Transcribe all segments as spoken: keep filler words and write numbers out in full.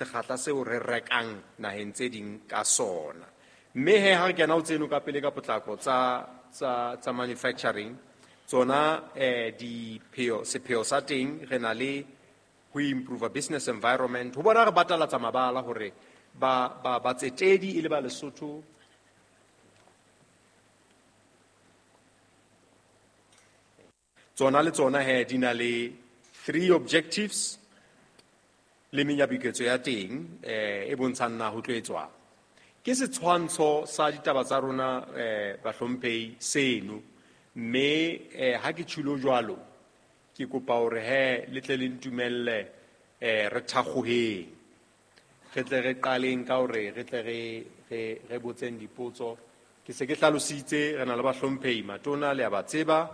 Sekgahla seo re rekang naheng tse ding ka sona. Mme he ha re kena ho tseno ka pele ka potlako tsa tsa tsa manufacturing, tsona eh dipheo sepheo sa teng re na le ho improve business environment, ho bona re batalatsa mabala hore ba ba batsetedi e le ba Lesotho tsona le tsona he di na le three objectives le menyabuketso ya teng eh e bontshang na ho tlo etswang. Ke setshwantsho sa ditaba tsa rona eh bahlomphehi seno, mme eh ha ke tjhulo jwalo ke kopa hore he le tle le ntumelle eh re thakgoheng, re tle re qaleng ka hore re tle re re re botseng dipotso. Ke se ke hlalositse re na le bahlomphehi matona le a ba tseba,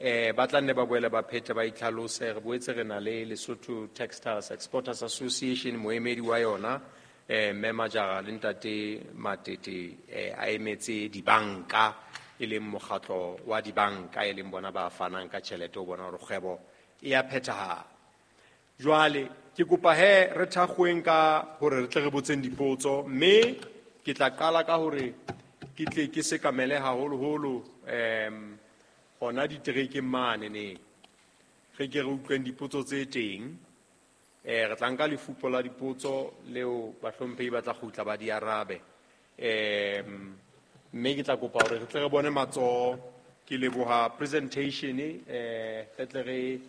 eh ba tla nne ba boele ba phethe ba itlhalose. Re boetse re na le Lesotho Textiles Exporters Association, moemedi wa yona eh mme Majara le ntate Matete eh a emetse dibanka, e leng mokgatlo wa dibanka e leng bona ba fanang ka tjhelete ho bona hore kgwebo e a phethahala. Jwale ke kopa he re thakgoeng ka hore re tle re botseng dipotso, mme ke tla qala ka hore ke tle ke sekamele haholoholo em hona diterekeng mane ne re ke re utlweng dipotso tse teng. Eh re tla nka lefupo la dipotso leo bahlomphehi ba tla kgutla ba di arabe. Em mme ke tla kopa hore re tle re bone matsoho. Ke leboha presentation eh re tle re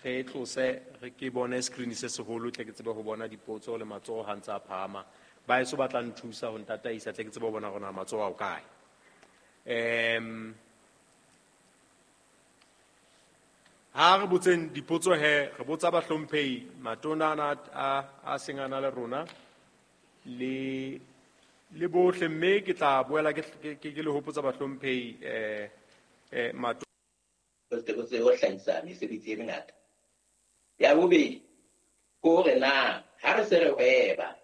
re tlose re ke bone screen se seholo, tle ke tsebe ho bona dipotso le matsoho ha ntse a phahama. Ba eso ba tla nthusa ho ntataisa, tle ke tsebe ho bona hore na matsoho a o kae. Em ha re botseng dipotso he, re botsa bahlomphehi matona ana a a seng a na le rona le le bohle, mme ke tla boela ke ke ke le hopotsa bahlomphehi eh eh matona ho hlahisa mesebetsi e mengata. Ya bobedi ke hore na ha re se re hweba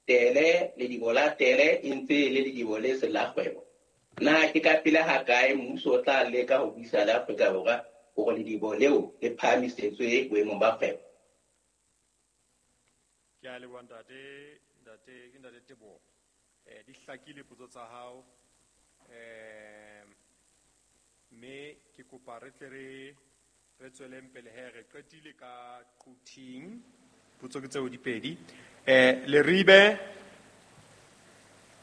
tele ledibo la tele e ntse e le ledibo le seng la kgwebo, na ke ka pele hakae mmuso o tla leka ho buisa le Afrika Borwa hore ledibo leo le phahamisetswe boemong ba kgwebo? Ke a leboha ntate, ntate ke ntate Teboho. Eh di hlakile potso tsa hao, eh mme ke kopa re tle re re tsweleng pele he re qetile ka Quthing. Potso ke tseo di pedi. Eh Leribe,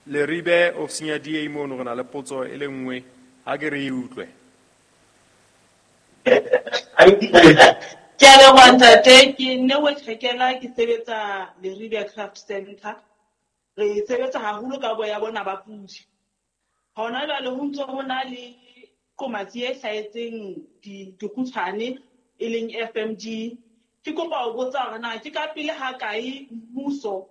Leribe ofising ya D A mono re na le potso e le nngwe, ha ke re e utlwe. Ke a leboha ntate, ke Neo Tjhekela, ke sebetsa Leribe Craft Center. Re sebetsa haholo ka boya bona ba pudi. Hona jwale ho ntso ho na le qomatsi e hlahetseng dikgutshwane e leng F M D. Ke kopa ho botsa hore na ke ka pele ha kae mmuso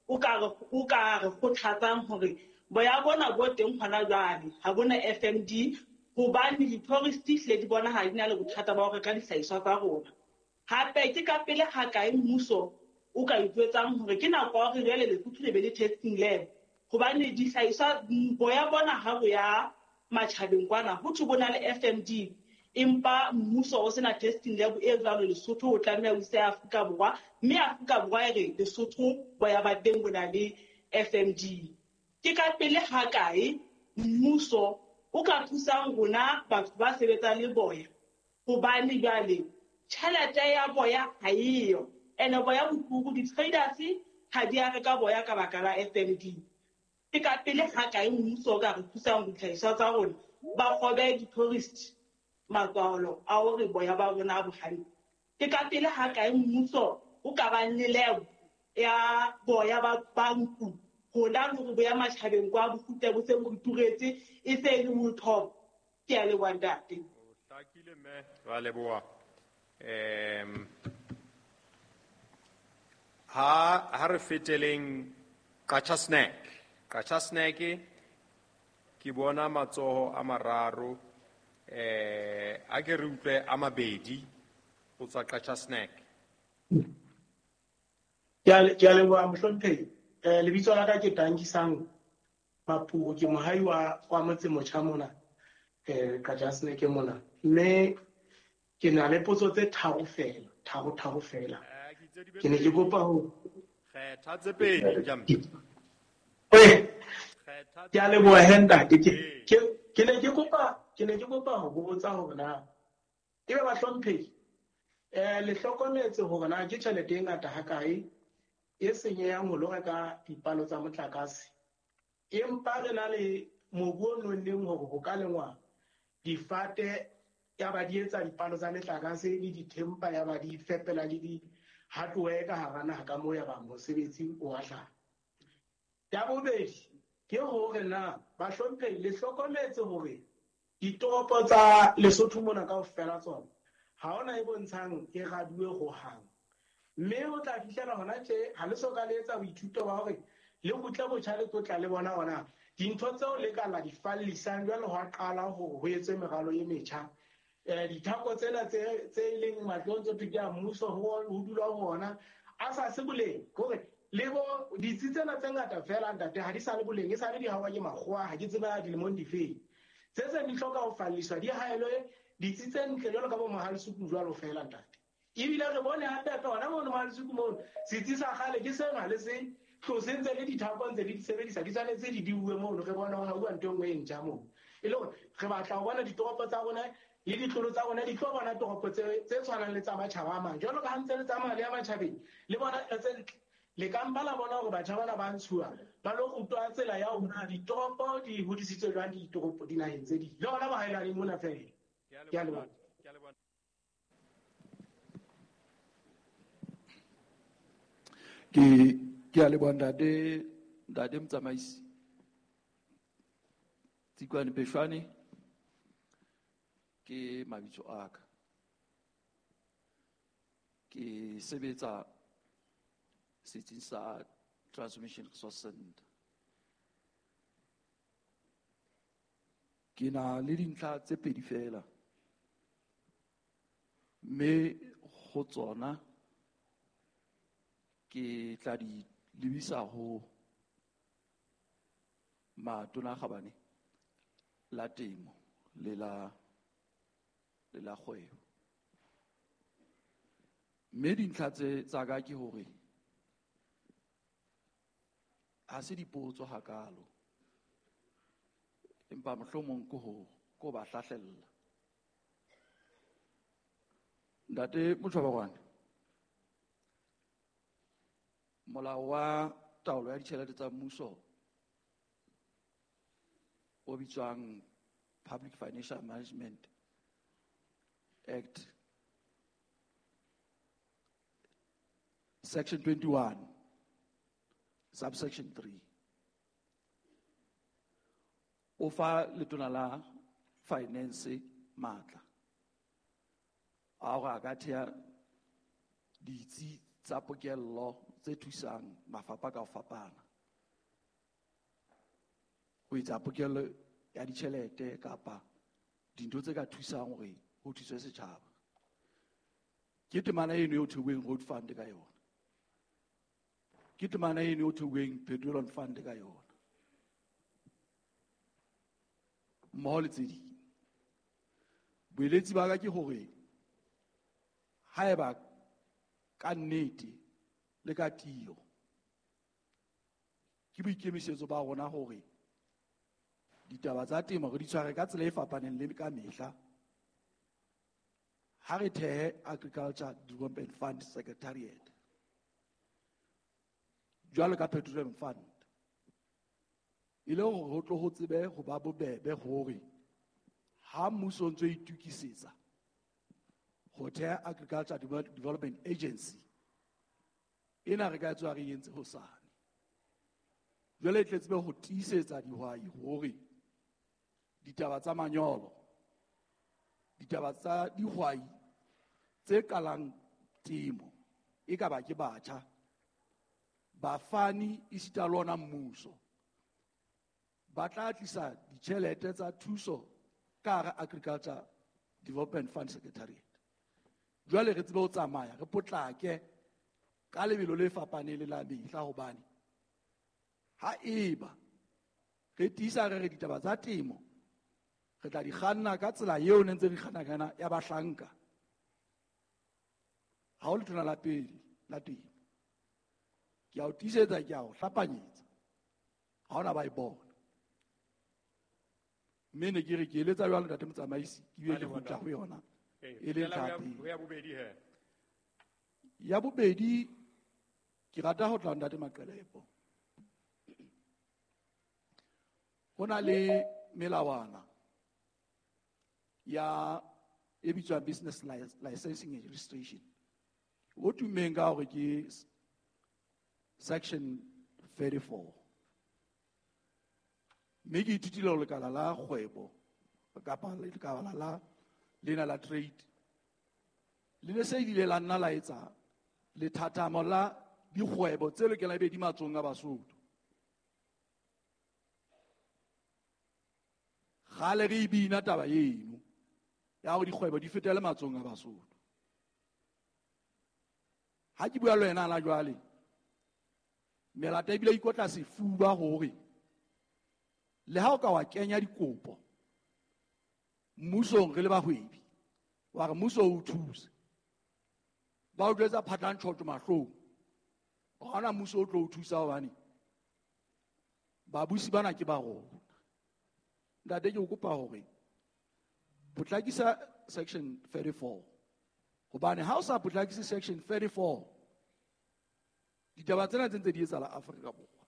o ka re o ka re kgothatsang hore boya bona bo teng hona jwale ha bona F M D, hobane di-tourist hlile di bonahala di na le bothata ba ho reka dihlahiswa tsa rona. Hape ke ka pele ha kae mmuso o ka ijwetsang hore ke nako ya hore jwale Lesotho le be le testing lab, hobane dihlahiswa boya bona ha bo ya matjhabeng kwana ho thwe bo na le F M D, empa mmuso o sena testing lab e jwalo Lesotho o tlameha o ise Afrika Borwa, mme Afrika Borwa e re Lesotho boya ba teng bo na le F M D. Ke ka pele ha kae mmuso o ka thusang rona batho ba sebetsang le boya, hobane jwale tjhelete ya boya ha eyo, ene boya bo turu, di-traders ha di a reka boya ka baka la F M D. Ke ka pele ha kae mmuso o ka re thusang ditlhahiswa tsa rona ba kgobe di-tourist matswalo a hore boya ba rona bo hantle. Ke ka pele ha kae mmuso o ka bang le lab ya boya ba ba nku, hona le hore boya matjhabeng kwa bo kgutle bo se bo ituretse e se e le wool top. Ke a leboha ntate. O hlakile mme, ra leboha. Em ha ha re feteleng Qacha Snack. Qacha Snack ke bona matsoho a mararo, eh a ke re utlwe a mabedi ho tswa Qacha Snack. Ke a ke a leboha mohlomphehi. Eh lebitso la ka ke Tankisang Mapuo, ke mohai wa wa motse motjha mona eh Qacha Snack mona, mme ke na le potso tse tharo fela, tharo tharo fela. Ke ne ke kopa ho Kgetha tse pedi Njambi. Eh, Kgetha ke a leboha he ntate. Ke ke ke ne ke kopa ke ne ke kopa ho botsa hore na ebe bahlomphehi eh le hlokometse hore na ke tjhelete e ngata hakae e senyehang ho lo reka dipalo tsa motlakase, empa re na le mobu o nonneng hore ho ka lengwa difate ya ba di etsa dipalo tsa metlakase le dithempa ya ba di fepela le di hardware ka hara naha ka moo ya ba mosebetsi o a hlaha. Ya bobedi ke hore na bahlomphehi le hlokometse hore ditoropo tsa Lesotho mona kaofela tsona ha hona e bontshang e raduwe hohang, mme ho tla fihlela hona tje ha le so ka le etsa boithuto ba hore le kgutle botjha le tlo tla le bona hona dintho tseo le ka la di fallisang jwale ho a qala hore ho etswe meralo e metjha. Eh dithako tsena tse tse leng matlong tse thwe ke a mmuso ho ho dula ho ona a sa se boleng, hore le bo ditsi tsena tse ngata fela ntate ha di sa le boleng, e sa le di hawa ke makgowa, ha ke tseba dilemong difeng. Tse seng di hloka ho falliswa di haelwe ditsi tse ntle jwalo ka bo Mohalisuku jwalo fela ntate. Ebile re bone hape ka hona mono Mohalisuku mono setsi sa kgale ke sena le se tlose ntse le dithako ntse le di sebedisa di tshwanetse di diuwe mono, re bone ho hauwa ntho e nngwe e ntjha mono. E le hore re batla ho bona ditoropo tsa rona le ditlolo tsa rona di tlo bona toropo tse tse tshwanang le tsa matjhaba a mang. Jwalo ka ha ntse le tsamaya le ya matjhabeng le bona tse ntle, le ka mpa la bona hore batjha bana ba ntshuwa ba lo rutwa tsela ya hore na ditoropo di hodisitswe jwang ditoropo dinaheng tse ding, le hona bohaelane mona fela. Ke a leboha. Ke a leboha. Ke ke a leboha ntate, ntate motsamaisi. Tsikwane Peshwane ke mabitso a ka. Ke sebetsa setsing sa Transmission Resource Center. Ke na le dintlha tse pedi fela, mme ho tsona ke tla di lebisa ho matona a kgabane la temo le la le la kgwebo. Mme dintlha tse tsa ka ke hore ha se dipotso hakalo, empa mohlomong ke ho ko ba hlahlella. Ntate Motjhobarwane, molao wa taolo ya ditjhelete tsa mmuso o bitswang Public Financial Management Act, Section twenty-one, subsection three, o fa letona la finance matla a hore a ka thea ditsi tsa pokello tse thusang mafapha ka ho fapana ho etsa pokello ya ditjhelete kapa dintho tse ka thusang hore ho thuswe setjhaba. Ke temana eno eo thehilweng Road Fund ka yona, ke temana eno eo thehilweng Petroleum Fund ka yona, mmoho le tse ding. Boeletsi ba ka ke hore haeba ka nnete le ka tiyo ke boikemisetso ba rona hore ditaba tsa temo re di tshware ka tsela e fapaneng le ka mehla, ha re thehe Agriculture Development Fund Secretariat jwalo ka Petroleum Fund, e le hore ho tlo ho tsebe ho ba bobebe hore ha mmuso o ntso itukisetsa ho theha Agriculture Development Agency ena re ka tswa re entse hosane. Jwale e tle tsebe ho tiisetsa dihwai hore ditaba tsa manyolo, ditaba tsa dihwai tse qalang temo e ka ba ke batjha, bafani esita le ona mmuso ba tla tlisa ditjhelete tsa thuso ka hara Agriculture Development Fund Secretariat. Jwale re tsebe ho tsamaya re potlake ka lebelo le fapaneng le la mehla, hobane ha eba re tiisa re re ditaba tsa temo re tla di kganna ka tsela eo ne ntse re kganna ka yona ya bahlanka, ha o letona la pele la temo Ke a o tiisetsa, ke a o hlapanyetsa, ha hona ba e bona. Mme ne ke re ke eletsa jwalo ntate motsamaisi, ke bile ke kgutla ho yona e le ntlha ya pele. Ya bobedi he. Ya bobedi ke rata ho tla ntate Maqelepo. Ho na le melawana ya e bitswang business licensing and registration. O tummeng ka hore ke section thirty-four. Mme ke ithutile ho lekala la kgwebo kapa lekala la lena la trade. Le ne se ile la nna la etsa lethathamo la dikgwebo tse lokelang ebe di matsohong a Basotho. Kgale re e bina taba eno ya hore dikgwebo di fetele matsohong a Basotho. Ha ke bua le wena la jwale, melata ebile ikotla sefuba hore le ha o ka wa kenya dikopo mmusong re le bahwebi, wa re mmuso o thuse, ba o jwetsa phatlang tjhotjo mahlong, ha hona mmuso o tlo o thusa hobane babusi bana ke ba rona. Ntate, ke o kopa hore potlakisa section thirty-four, hobane ha o sa potlakise section thirty-four, ditaba tsena tse ntse di etsahala Afrika Borwa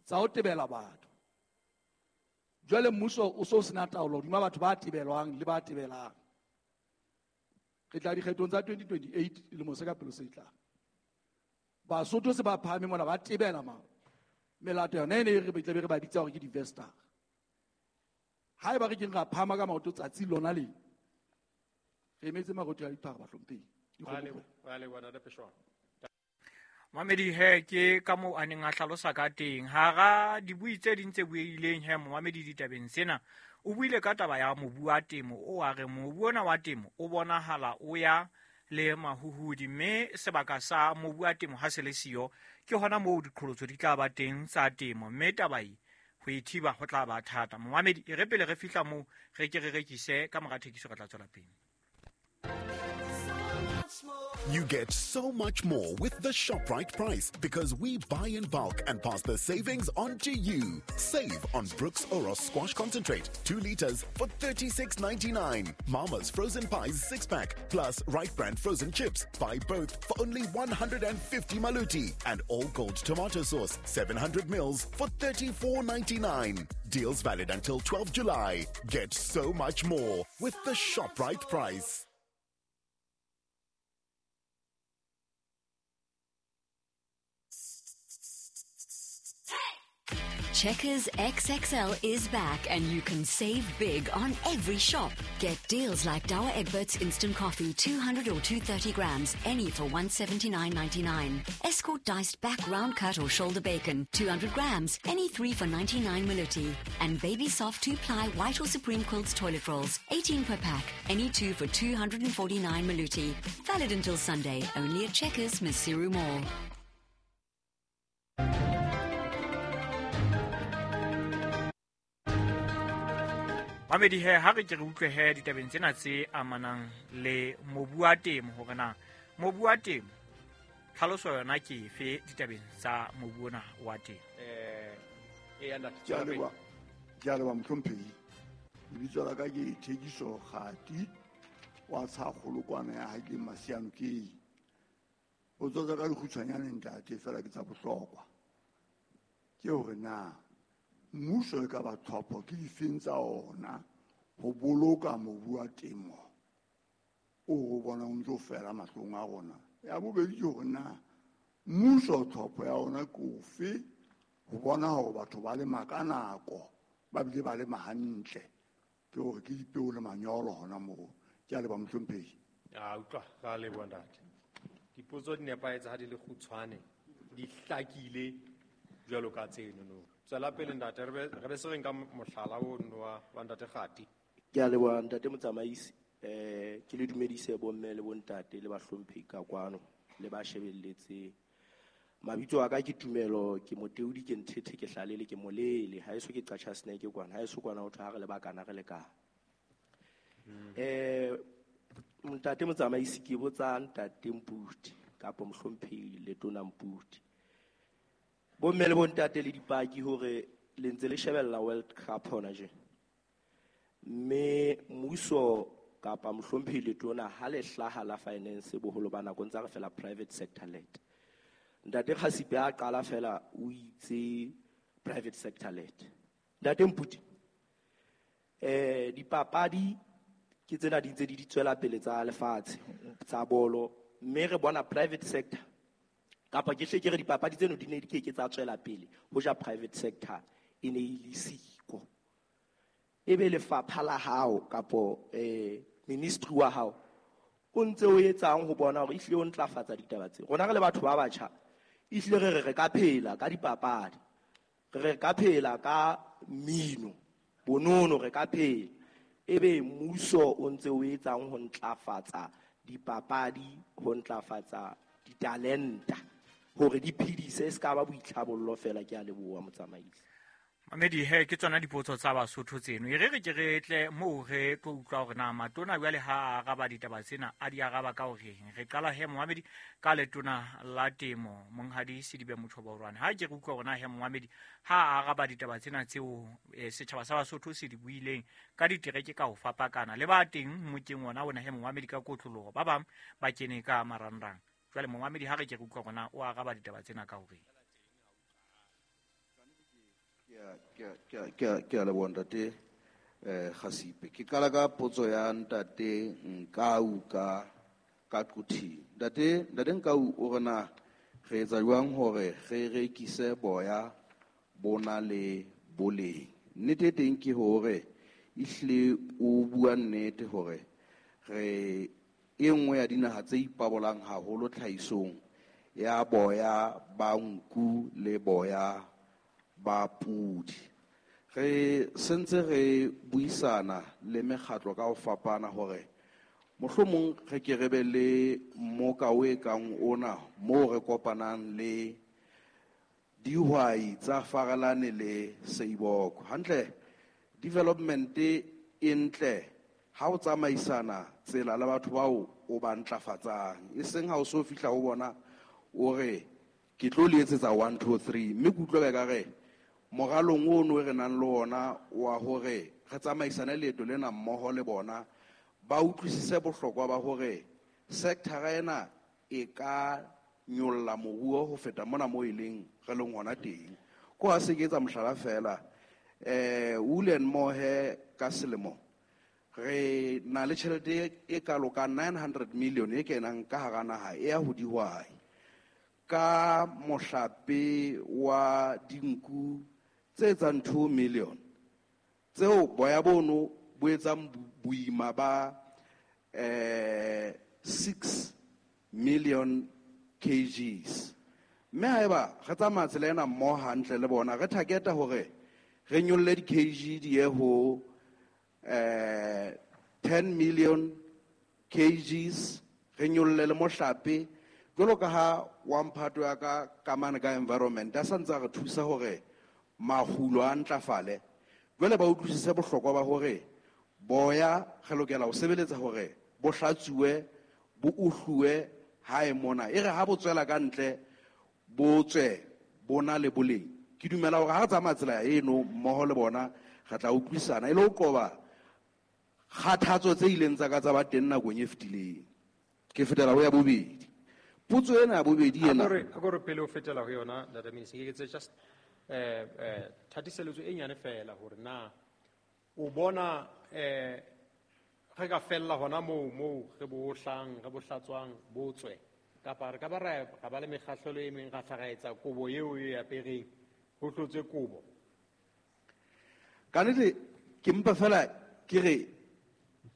tsa ho tebela batho. Jwale mmuso o so sena taolo hodima batho ba tebelwang le ba tebelang. Re tla dikgethong tsa twenty twenty-eight lemo se ka pele se tlang. Basotho se ba phahame mona ba tebela ma melato yona e ne re tlabe re ba bitsa hore ke di-investor. Haeba re keng ra phahama ka maoto tsatsi lona le, re emetse marotho a diphara bahlomphehi. Mamedi he ke ka moo a neng a hlalosa ka teng hara dibui tse ding tse buileng he momamedi ditabeng tsena o buile ka taba ya mobu wa temo o a re mobu ona wa temo o bonahala o ya le mahuhudi mme sebaka sa mobu wa temo ha se le siyo ke hona moo diqholotso di tla ba teng tsa temo mme taba e ho e thiba ho tla ba thata. Momamedi e re pele re fihla moo re ke re rekise ka mora thekiso re tla tswela pele. You get so much more with the ShopRite price because we buy in bulk and pass the savings on to you. Save on Brooks Oros Squash Concentrate, two liters for thirty-six ninety-nine. Mama's Frozen Pies six pack plus Right Brand Frozen Chips. Buy both for only one hundred fifty maluti. And All Gold Tomato Sauce, seven hundred mils for thirty-four ninety-nine. Deals valid until twelfth July. Get so much more with the ShopRite price. Checkers X X L is back and you can save big on every shop. Get deals like Douwe Egberts Instant Coffee, two hundred or two hundred thirty grams, any for one seventy-nine ninety-nine. Escort diced back round cut or shoulder bacon, two hundred grams, any three for ninety-nine maluti. And Baby Soft two-ply white or Supreme Quilts toilet rolls, eighteen per pack, any two for two hundred forty-nine maluti. Valid until Sunday, only at Checkers, Maseru Mall. Mamedi he ha re ke re utlwe he ditabeng tsena tse amanang le mobu wa temo hore na mobu wa temo tlhaloso yona ke efe ditabeng tsa mobu ona wa temo. Eh e ya Ke a leboha, ke a leboha mohlomphehi. Lebitso la ka ke Thekiso Kgati wa Tshakgolokwana ya ha ke Masiano ke. Potso tsa ka di kgutshwanyane ntate fela ke tsa bohlokwa. Ke hore na mmuso e ka ba tlhopho ke difeng tsa ona ho boloka mobu wa temo o re bonang o ntso fela mahlong a rona. Ya bobedi ke hore na mmuso tlhopho ya ona ke ofe ho bona hore batho ba lema ka nako ba bile ba lema hantle, ke hore ke dipeo le manyolo hona moo. Ke a leboha mohlomphehi. A utlwa, ra leboha ntate. Dipotso di nepahetse ha di le kgutshwane, di hlakile jwalo ka tseno no. Tswela pele ntate, re be re be se re nka mohlala ono wa wa ntate Kgati. Ke a leboha ntate motsamaisi. Eh ke le dumedise bomme le bontate le bahlomphehi ka kwano le ba shebelletseng. Mabitso a ka ke Tumelo, ke Moteudi, ke Nthethe, ke Hlalele, ke Molele. Ha eso ke Qacha Snake kwana, ha eso kwana ho thwe ha re le bakana re lekana. Eh ntate motsamaisi ke botsa ntate Mputi kapa mohlomphehi Letona Mputi. Bomme le bontate le dipaki hore le ntse le shebella World Cup hona je. Mme mmuso kapa mohlomphehi letona ha le hlaha la finance boholo ba nako ntse re fela private sector led. Ntate Khasipe a qala fela o itse private sector led. Ntate Mputi, eh dipapadi ke tsena di ntse di di tswela pele tsa lefatshe tsa bolo, mme re bona private sector kapa ke hle ke re dipapadi tseno di ne di ke ke tsa tswela pele ho ja private sector e ne e le siko. Ebe lefapha la hao kapo eh ministry wa hao o ntse o etsang ho bona hore ehlile o ntlafatsa ditaba tse. Rona re le batho ba batjha ehlile re re re ka phela ka dipapadi, re re ka phela ka mmino, bonono re ka phela. Ebe mmuso o ntse o etsang ho ntlafatsa dipapadi, ho ntlafatsa ditalenta hore di phedise, se ka ba boitlhabollo fela. Ke a leboha motsamaisi. Mamedi he ke tsona dipotso tsa Basotho tseno. E re re ke re tle moo re tlo utlwa hore na matona jwale ha a araba ditaba tsena a di araba ka horeng. Re qala he Mohamedi ka letona la temo Monghadi Sedibe Mothobaorwane. Ha ke re utlwa hore na he Mohamedi ha a araba ditaba tsena tseo e, setjhaba sa Basotho se di buileng ka ditereke ka ho fapakana le ba teng mokeng ona ona he Mohamedi ka kotloloho ba bang ba kene ka marangrang. Jwale Mohamedi ha re ke re utlwa hore na o araba ditaba tsena ka horeng. Ke a leboha ntate eh Khasipe. Ke qala ka potso ya ntate Nkau ka ka Quthing. Ntate ntate Nkau o re na re etsa jwang hore re rekise boya bona le boleng. Nnete teng ke hore ehlile o bua nnete hore re e nngwe ya dinaha tse ipabolang haholo tlhahisong ya boya ba nku le boya ba pudi. Re sentse re buisana le mekgatlo ka ho fapana hore mohlomong re ke re be le mmoka o e kang ona moo re kopanang le dihwai tsa Farelane le Seiboko. Hantle development e ntle ha o tsamaisana tsela le batho bao o ba ntlafatsang, e seng ha o so fihla ho bona o re ke tlo le etsetsa one two three. Mme ke utlwa ka re moralong ono re nang le ona wa hore re tsamaisane leeto lena mmoho le bona ba utlwisise bohlokwa ba hore sector ena e ka nyolla moruo ho feta mona mo e leng re leng hona teng. Ko ha se ke etsa mohlala fela eh Wool and Mohair ka selemo re na le tjhelete e kalo ka nine hundred million e kenang ka hara naha e ya ho dihwai ka mohlape wa dinku tse etsang two million tseo boya bono bo etsang boima ba eh six million kgs. Mme haeba re tsamaya tsela ena mmoho hantle le bona re targeta hore re nyolle di-kg di ye ho eh ten million kgs, re nyolle le mohlape jwalo ka ha wa mphato ya ka kamane ka environment a sa ntse a re thusa hore makgulo a ntlafale. Jwale ba utlwisise bohlokwa ba hore boya re lokela ho sebeletsa hore bo hlatsuwe bo uhluwe hae mona, e re ha bo tswela ka ntle bo tswe bona le boleng. Ke dumela hore ha re tsamaya tsela eno mmoho le bona re tla utlwisana e le ho qoba kgathatso tse ileng tsa ka tsa ba teng nakong e fetileng. Ke fetela ho ya bobedi. Potso ena ya bobedi ena. A ko re pele o fetela ho yona Ntate Minister, ke etse just eh eh thatiseletso e nyane fela hore na o bona eh re ka fella hona moo moo re bo hlang re bo hlatswang bo tswe kapa re ka ba ra ba le mekgahlelo e meng ra hla ra etsa kobo eo e apereng ho hlotswe kobo. Ka nnete ke mpa fela ke re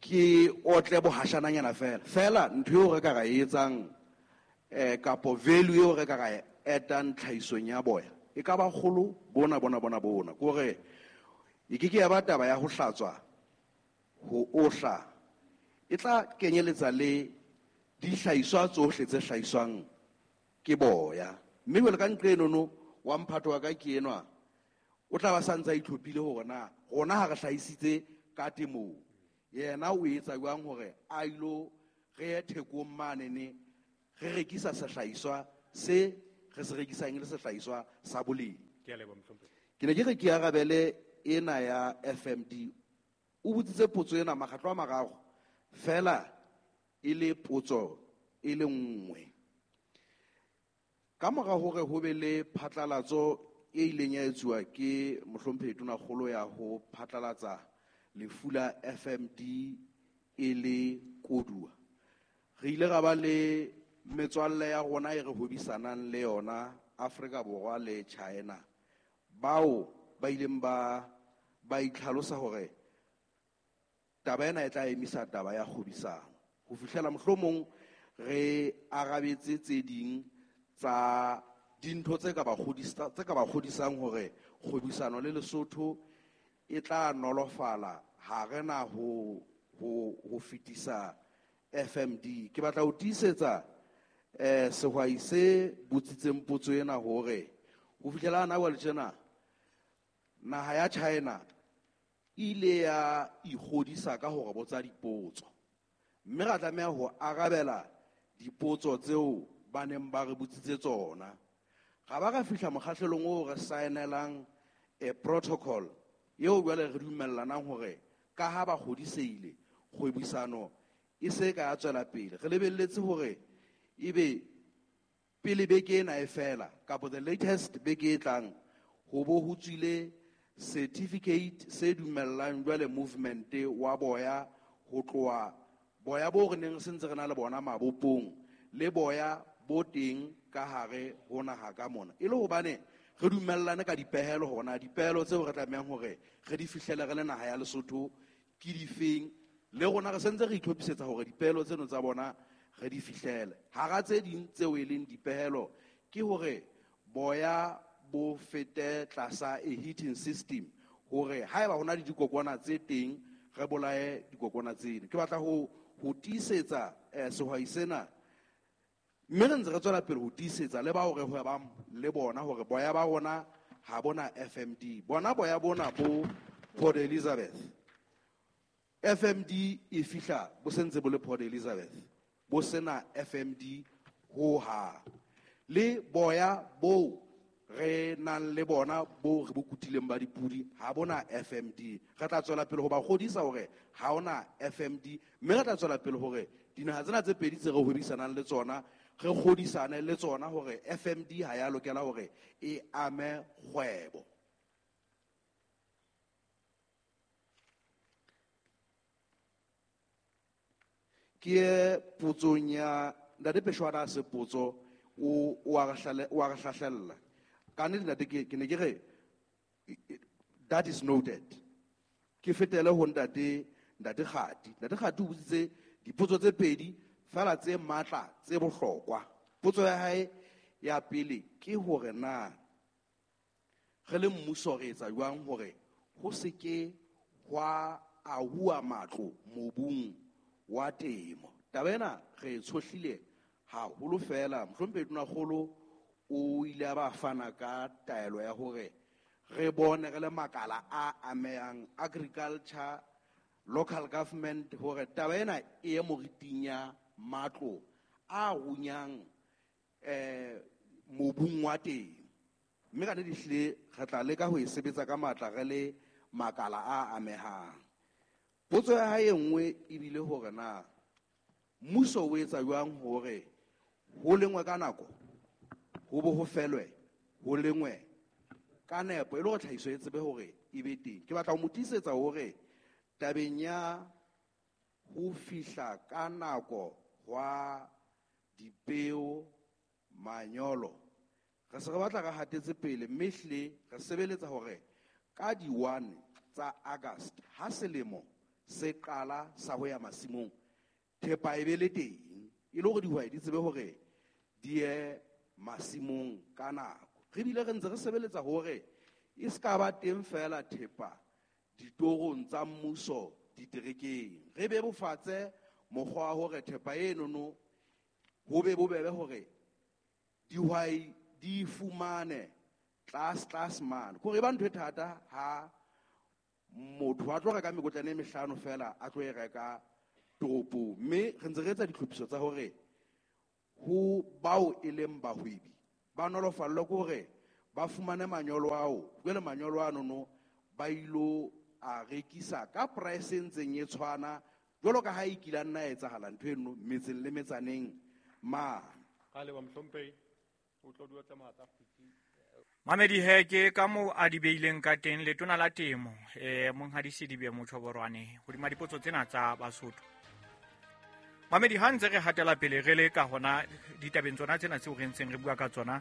ke otle bohashananyana fela fela ntho eo re ka ra e etsang eh kapo value eo re ka ra etang tlhahisong ya boya e ka ba kgolo bona bona bona bona kore e ke ke ya ba taba ya ho hlatswa ho ohla e tla kenyeletsa le dihlahiswa tsohle tse hlahiswang ke boya. Mme jwale ka ntle enono wa mphato wa ka ke enwa o tla ba sa ntse a itlhophile hore na rona ha re hlahisitse ka temong yena o etsa jwang hore a ilo re ye thekong manene re rekisa sehlahiswa se re se rekisang e le sehlahiswa sa boleng. Ke ne ke re ke arabele ena ya F M D. O botsitse potso ena makgetlo a mararo fela e le potso e le nngwe. Ka mora hore ho be le phatlalatso e ileng ya etsuwa ke mohlomphehi Tonakgolo ya ho phatlalatsa lefu la F M D e le koduwa, re ile ra ba le metswalle ya rona e re hwebisanang le yona Afrika Borwa le China, bao ba ileng ba ba itlhalosa hore taba ena e tla emisa taba ya kgwebisano ho fihlela mohlomong re arabetse tse ding tsa dintho tse ka ba kgodisa tse ka ba kgodisang hore kgwebisano le Lesotho e tla nolofala ha re na ho ho ho fetisa F M D. Ke batla ho tiisetsa eh sehwai se botsitseng potso ena hore ho fihlela hana jwale tjena naha ya China ile ya ikgodisa ka hore botsa dipotso, mme ra tlameha ho arabela dipotso tseo ba neng ba re botsitse tsona. Ga ba ka fihla mokgahlelong oo re saenelang a protocol eo jwale re dumellanang hore ka ha ba kgodiseile kgwebisano e se ka ya tswela pele. Re lebelletse hore ebe pele beke ena e fela kapa the latest beke e tlang ho bo ho tswile certificate se dumellang jwale movement wa boya ho tloha boya bo re neng se ntse re na le bona mabopong le boya bo teng ka hare ho naha ka mona, e le hobane re dumellane ka dipehelo hona dipehelo tseo re tlamehang hore re di fihlele re le naha ya Lesotho ke difeng, le rona re sentse re itlhophisetsa hore dipehelo tseno tsa bona re di fihlele. Hara tse ding tseo e leng dipehelo ke hore boya bo fete tlasa a heating system hore haeba hona le dikokwana tse teng re bolaye dikokwana tseno. Ke batla ho ho tiisetsa eh, sehwai sena, mme re ntse re tswela pele ho tiisetsa le bao re hwebang le bona hore boya ba rona ha bona F M D. Bona boya bona bo Port Elizabeth, F M D e fihla bo sentse bo le Port Elizabeth, bo sena F M D ho hang. Le boya bo re nang le bona bo re bo kutileng ba dipudi ha bona F M D. Re tla tswela pele ho ba kgodisa hore ha ona F M D, mme re tla tswela pele hore dinaha tsena tse pedi tse re hwebisanang le tsona re kgodisane le tsona hore F M D ha ya lokela hore e ame kgwebo. Ke potsong ya Ntate Peshwana se potso o o a re o a re hlahlella. Ka nnete ntate ke ke ne ke re that is noted. Ke fetele ho ntate ntate Kgati. Ntate Kgati o botsitse dipotso tse pedi fela tse matla tse bohlokwa. Potso ya hae ya pele ke hore na re le mmuso re etsa jwang hore ho se ke hwa ahuwa matlo mobung wa temo. Taba ena re e tshohlile haholo fela. Mohlomphehi Tonakgolo o ile a ba fana ka taelo ya hore re bone re le makala a amehang agriculture, local government, hore taba ena e ye moriting ya matlo a runyang eh mobung wa teng. Mme ka nnete ehlile re tla leka ho e sebetsa ka matla re le makala a amehang. Potso ya hae e nngwe ebile hore na mmuso o etsa jwang hore ho lengwe ka nako ho bo ho felwe ho lengwe ka nepo e le hore tlhahiso e tsebe hore e be teng. Ke batla ho mo tiisetsa hore tabeng ya ho fihla ka nako hwa dipeo manyolo re se re batla re hatetse pele, mme ehlile re sebeletsa hore ka di one tsa August ha selemo se qala sa ho ya masimong thepa e be le teng e le hore dihwai di tsebe hore di ye masimong ka nako. Re bile re ntse re sebeletsa hore e se ka ba teng fela thepa ditorong tsa mmuso diterekeng, re bebofatse mokgwa wa hore thepa enono ho be bobebe hore dihwai di fumane tlase tlase mane. Kore e ba ntho e thata ha motho a tlo reka mekotlana e mehlano fela a tlo e reka toropong, mme re ntse re etsa ditlhophiso tsa hore ho bao e leng bahwebi Ba nolofallwe ke hore ba fumane manyolo ao, jwale manyolo ano no ba ilo a rekisa ka price e ntseng e tshwana jwalo ka ha e kile nna etsahala ntho eno metseng le metsaneng mane. Ka leboha mohlomphehi, o tlo dula tsa matla. Mamedi he ke ka moo a di beileng ka teng letona la temo eh monghadi Sedibe Motjhoborwane hodima dipotso tsena tsa Basotho. Mamedi ha ntse re hatela pele re le ka hona ditabeng tsona tsena tseo re ntseng re bua ka tsona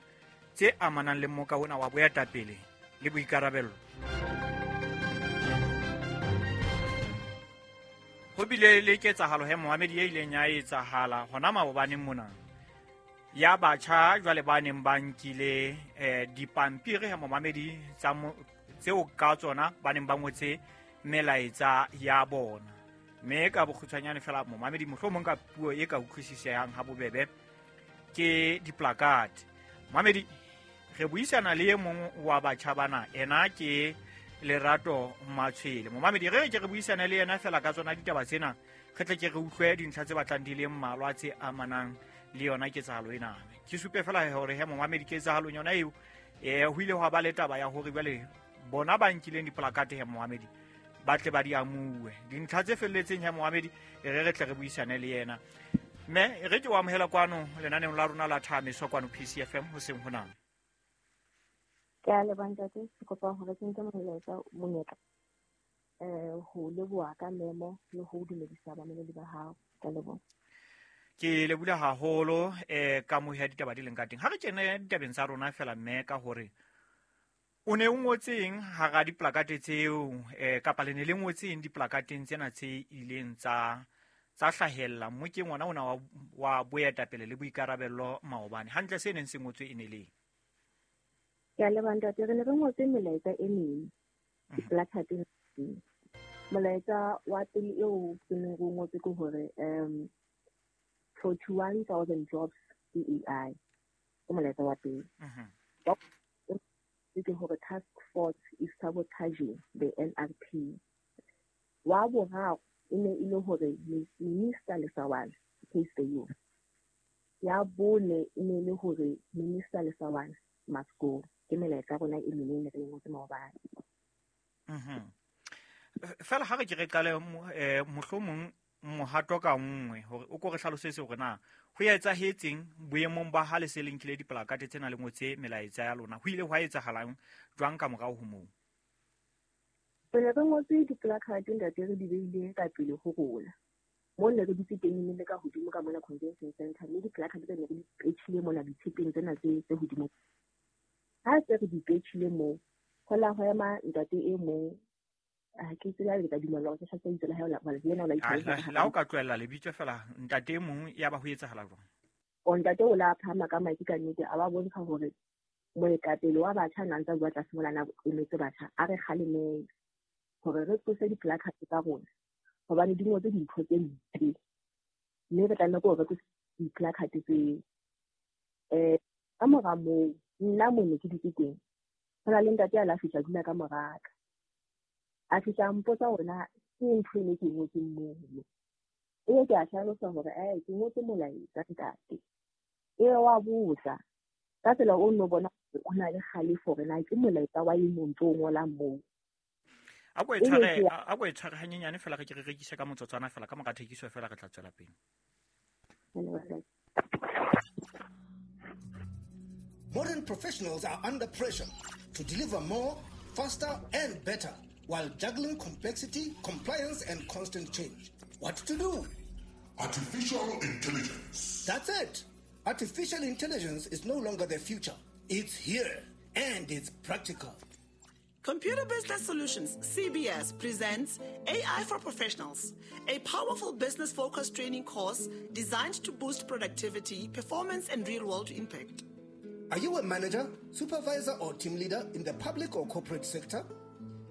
tse amanang le moka ona wa boetapele le boikarabello. Ho bile le ketsahalo he Mohamedi e ileng ya etsahala hona maobaneng mona ya batjha jwale ba neng ba nkile eh dipampiri he Mohamedi tsa tseo ka tsona ba neng ba ngotse melaetsa ya bona. Mme ka bokgutshwanyane fela Mohamedi mohlomong ka puo e ka utlwisisehang ha bobebe ke diplakate. Mohamedi re buisana le e mong wa batjha bana, ena ke Lerato Matshwele. Mohamedi re ke re buisana le yena fela ka tsona ditaba tsena, re tle ke re utlwe dintlha tse batlang di le mmalwa tse amanang le yona ketsahalo ena. Ke supe fela hore he Mohamedi ketsahalong yona eo eh ho ile hwa ba le taba ya hore jwale bona ba nkileng diplakate he Mohamedi ba tle ba di amuwe. Dintlha tse felletseng he Mohamedi re re tle re buisane le yena. Mme re ke o amohela kwano lenaneong la rona la Thameso kwano P C F M hoseng hona. Ke a leboha ntate, ke kopa hore ke nke molaetsa monyetla eh ho leboha ka memo le ho dumedisa bamamedi ba hao. Ke a leboha. Ke lebula haholo eh ka moho ya ditaba di leng ka teng. Ha re kene ditabeng tsa rona fela mme ka hore o ne o ngotseng hara diplakate tseo eh kapa le ne le ngotseng diplakateng tsena tse ileng tsa tsa hlahella mokeng ona ona wa, wa boetapele le boikarabello maobane. Hantle se neng se ngotswe e ne le Ke a leboha ntate, re ne re ngotse melaetsa e meng diplakateng. Molaetsa wa pele eo ke neng re o ngotse ke hore um forty-one thousand jobs ke A I. Ke molaetsa wa pele. Ke hore task force is sabotaging the N R P. Wa boraro e ne e le hore Minister Lesawana case the youth. Ya bone e ne e le hore Minister Lesawana must go. Ke melaetsa rona e meng e ne re ngotse maobane. Mhm. Fela ha re ke re qale mohlomong mohato ka nngwe hore o ko re hlalosetse hore na ho etsahetseng boemong ba ha le se le nkile diplakate tsena le ngotse melaetsa ya lona, ho ile hwa etsahalang jwang ka morao ho moo? Re ne re ngotse diplakate ntate, re di beile ka pele ho rona mo ne re dutse teng le ka hodimo ka mona convention center, mme diplakate tse ne re di petjhile mona ditshepeng tsena tse tse hodimo. Ha se re di petjhile moo, ho la ho ema ntate e mong, ha ke tsebe le ka dumela hore ke hlatse itse la hae la le yena o la itse. La o ka tlohella lebitso fela ntate e mong ya ba ho etsahala jwang? O ntate o la phama ka maiki ka nnete, a ba bontsha hore moetapele wa batjha na ntse a bua tlase mola na emetse batjha, a re kgalemeng hore re tlose diplakate tsa rona hobane di ngotse dintho tse mpe, mme re tlameha hore re tlose diplakate tseo. Eh ka mora moo nna mo ne ke dutse teng, ho na le ntate a la fihla dula ka mora ka. A fihla mpotsa hore na ke ntho e ne ke ngotseng mono. Ebe ke a hlalosa hore eh ke ngotse molaetsa ntate. Ebe wa botsa ka tsela o no bona o na le kgalefo hore na ke molaetsa wa eng o ntso o ngolang moo. A ko e tshware, a ko e tshware hanyenyane fela re ke re rekise ka motsotswana fela ka mora thekiso fela re tla tswela pele. Modern professionals are under pressure to deliver more, faster and better while juggling complexity, compliance and constant change. What to do? Artificial intelligence. That's it. Artificial intelligence is no longer the future. It's here and it's practical. Computer Business Solutions, C B S, presents A I for Professionals, a powerful business-focused training course designed to boost productivity, performance, and real-world impact. Are you a manager, supervisor, or team leader in the public or corporate sector?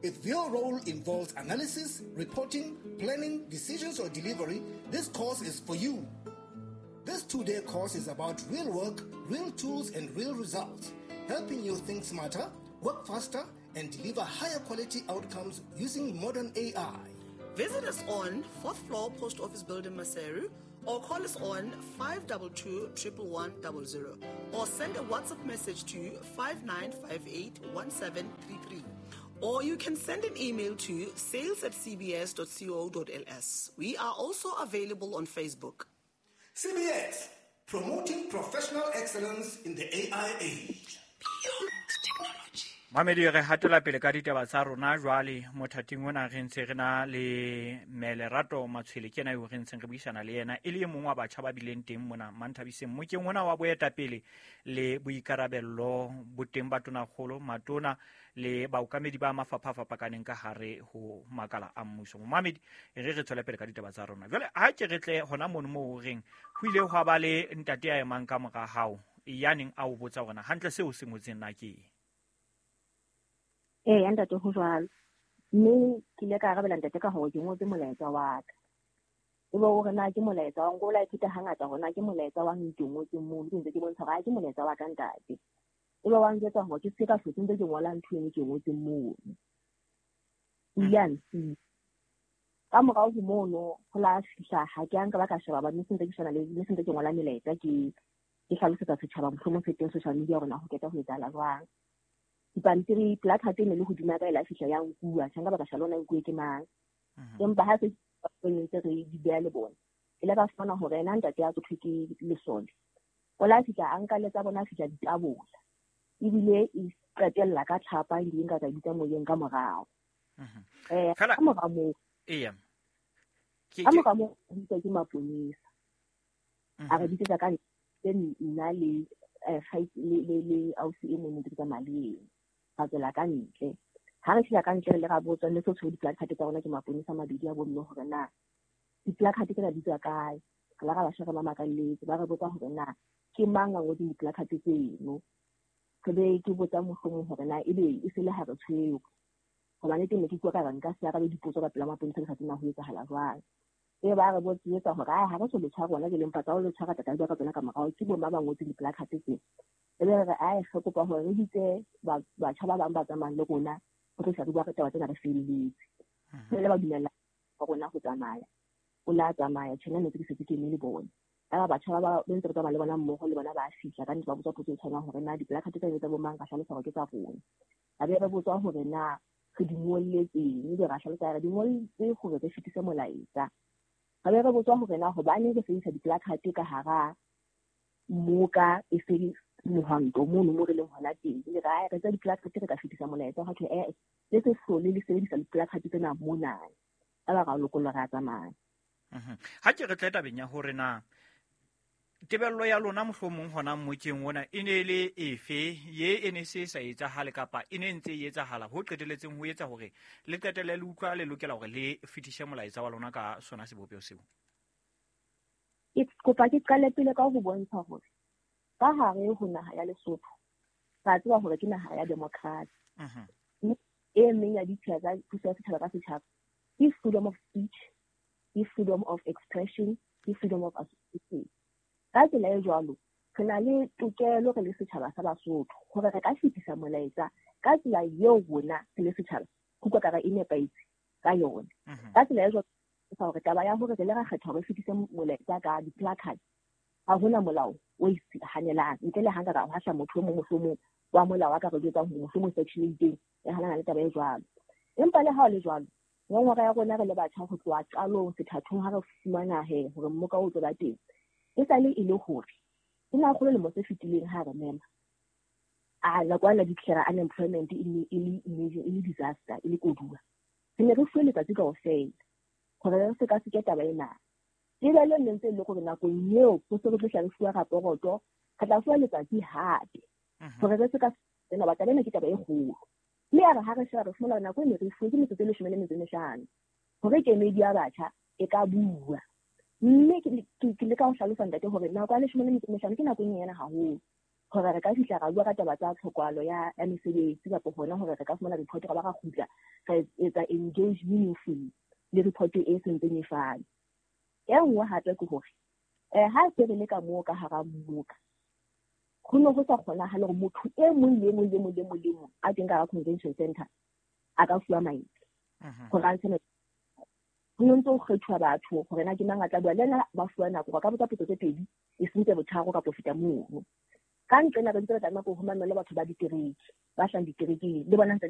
If your role involves analysis, reporting, planning, decisions, or delivery, this course is for you. This two-day course is about real work, real tools, and real results, helping you think smarter, work faster, and deliver higher quality outcomes using modern A I. Visit us on fourth floor Post Office Building, Maseru, Or call us on five two two, triple one, double zero or send a WhatsApp message to five nine five eight, one seven three three. Or you can send an email to sales at c b s dot co dot l s. We are also available on Facebook. C B S, promoting professional excellence in the A I age. Beyond technology. Mamedi re hatela pele ka ditaba tsa rona jwale mothating ona re ntse re na le Melerato Matshwele ke yena eo re ntseng re buisana le yena e le e mong wa batjha ba bileng teng mona Manthabiseng mokeng ona wa boetapele le boikarabello boteng ba tonakgolo matona le baokamedi ba mafapha a fapakaneng ka hare ho makala a mmuso. Mamedi re re tswele pele ka ditaba tsa rona jwale ha ke re tle hona mono moo reng ho ile hwa ba le ntate ya emang ka mora hao ya neng a o botsa hore na hantle seo se ngotseng na ke eng. Ee, ntate ho jwalo. Mme ke ile ka arabela ntate ka hore ke ngotse molaetsa wa ka. Ebe o re na ke molaetsa wa nko la ithuta hangata hore na ke molaetsa wa ke ngotseng mono, ke ntse ke bontsha hore ke molaetsa wa ka ntate. Ebe wa njwetsa hore ke se ka hlotse ntse ke ngola ntho eno ke ngotseng mono. O ile a nsiya. Ka morao ho mono ho la fihla ha ke a nka ba ka sheba ba mme se ntse ke shebana le mme se ntse ke ngola melaetsa ke ke hlalosetsa setjhaba mohlomong se teng social media hore na ho qeta ho etsahala jwang. Dipampiri placard e ne le hodima ka e la fihla ya nkuwa tjha nka ba ka sheba lona nkuwe ke mang. Empa ha se ntse re di beha le bona e le ka fumana hore ena ntate ya tsothwe ke lesole o la fihla a nka le tsa bona fihla ditabola ebile e qetella ka tlhapa e nka ka bitsa moyeng ka morao. Eh ka mora moo eya ka mora moo bitsa ke maponesa a re bitsetsa ka nna le le le le ausi e mong ntse ke tsamaya le yena. Ra tswela ka ntle. Ha re fihla ka ntle le ra botswa le tshwere di-placard tsa rona ke maponesa mabedi a bomme hore na di-placard tsena di tswa kae. Re la ra ba sheba ba makalletse ba re botsa hore na ke mang a ngotseng di-placard tseno. Re be ke botsa mohlomong hore na ebe e se le ha re tshwere. Hobane teng ne ke utlwa ka re nka se arabe dipotso ka pela maponesa ke sa tsebe na ho etsahala jwang. E ba re botsetsa hore ha re so le tshwara rona ke lempa tsa ho le tshwara tata ka tsona ka morao ke bo mang ba ngotseng di-placard tseno. Ebe re ai re kopa hore re bitse batjha ba bang ba tsamayang le rona ho tlo re bua ka taba tsena re felletse. Le ba dumella rona ho tsamaya. O la tsamaya tjhena ne ke setse ke eme le bona. Aba batjha ba ba ntse re tsamaya le bona mmoho le bona ba fihla ka ntse ba botsa potso e tshwanang hore na di-placard tsa tsa bo mang ka hlalosa hore ke tsa rona. A be re botswa hore na re di ngolletseng ebe ra hlalosa re di ngolletse hore re fetise molaetsa. Re be re botswa hore na hobaneng re sebedisa di-placard ka hara moka e se mohwanto mono mo re leng hona teng. Le ra re tsa di-placard re ka fetisa molaetsa ha thwe eh le se hlole le sebedisa di-placard tsena mona. Aba ra lokollwa ra tsamaya. Ha ke re tle tabeng ya hore na tebello ya lona mohlomong hona mokeng ona e ne le efe ye e ne se sa etsahale kapa e ne ntse e etsahala ho qeteletseng ho etsa hore le qetelle le utlwa le lokela hore le fetise molaetsa wa lona ka sona sebopeho seo. Ke kopa ke qale pele ka ho bontsha hore ka hare ho naha ya Lesotho ra tseba hore ke naha ya democracy. E meng ya ditsela tsa puso ya setjhaba ka setjhaba ke freedom of speech, ke freedom of expression, ke freedom of association. Ka tsela e jwalo re na le tokelo re le setjhaba sa Basotho hore re ka fetisa molaetsa ka tsela eo rona re le setjhaba ho utlwa ka re e nepahetse ka yona. Ka tsela e jwalo hore taba ya hore re le ra kgetha hore re fetise molaetsa ka di-placard ha hona molao o e hanelang ntle le ha nka ka hwahla motho e mong mohlomong wa molao a ka re jwetsang hore mohlomong section e itseng e hanana le taba e jwalo. Empa le ha o le jwalo ngongora ya rona re le batjha ho tloha qalong sethathong ha re fumana he hore mmoka o tlo ba teng e sale e le hore e na kgolo lemo se fetileng ha re mema a la kwa la declare unemployment e le e le e le disaster e le koduwa. Re ne re fuwe letsatsi kaofela hore re se ka se ke taba ena. Tebello ne ntse e le hore nakong eo ho se re tlo hla re fuwa raporoto re tla fuwa letsatsi hape hore re se ka tsena ba taba ena ke taba e kgolo. Mme ya re ha re sheba re fumana nako e ne re fuwe ke metsotso e leshome le metso e mehlano hore kemedi ya batjha e ka bua. Mme ke leka ho hlalosa ntate hore nako ya leshome le metso e mehlano ke nako e nyenyane haholo hore re ka fihla ra bua ka taba tsa tlhokahalo ya ya mesebetsi kapa hona hore re ka fumana report ra ba ra kgutla ra etsa engage meaningfully le report e sentseng e fane. E nngwe hape ke hore eh ha se re le ka moo ka hara mmoka ho ne ho sa kgonahale hore motho e mong le mong le mong le mong le mong a teng ka hara convention center a ka fuwa maele hore a ntshe. Ho no ntso ho kgethuwa batho hore na ke mang a tla bua le ena, ba fuwa nako ba ka botsa potso tse pedi e seng tse botharo kapa ho feta mono. Ka nqena re ntse re tlameha ho mamela batho ba ditereke, ba hlahang diterekeng le bona ntse